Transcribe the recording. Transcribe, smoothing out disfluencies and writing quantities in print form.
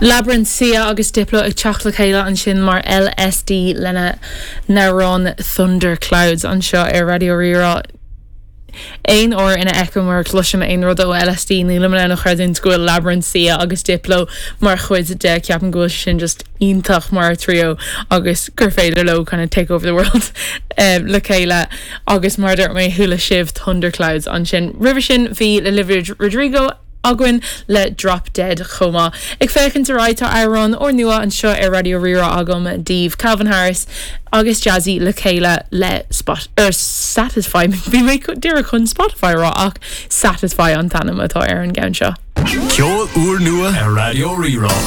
Labrinth, Sia agus Diplo ag teacht le chéile ansin mar LSD lena n-amhrán Thunderclouds anseo ar Raidió Rí-Rá. Aon uair ina fheicim mar a chloisim aon rud ó LSD nílim in ann a chreidiúint go bhfuil Labrinth, Sia agus Diplo mar chuid de. Ceapaim go bhfuil sé sin just iontach mar trio agus gur féidir leo kind of take over the world le chéile agus mar a dúirt mé chuala sibh Thunderclouds ansin. Roimhe sin bhí Olivia Rodrigo againn le Drop Dead chomh maith. Ag féachaint ar aghaidh tá amhrán úrnua anseo ar Raidió Rí-Rá agam daoibh, Calvin Harris agus Jazzy le chéile le Spot er Satisfy bhí mé díreach chun Spotify a rá ach Satisfy an t-ainm atá ar an gceann seo. Ceol úrnua ar Raidió Rí-Rá.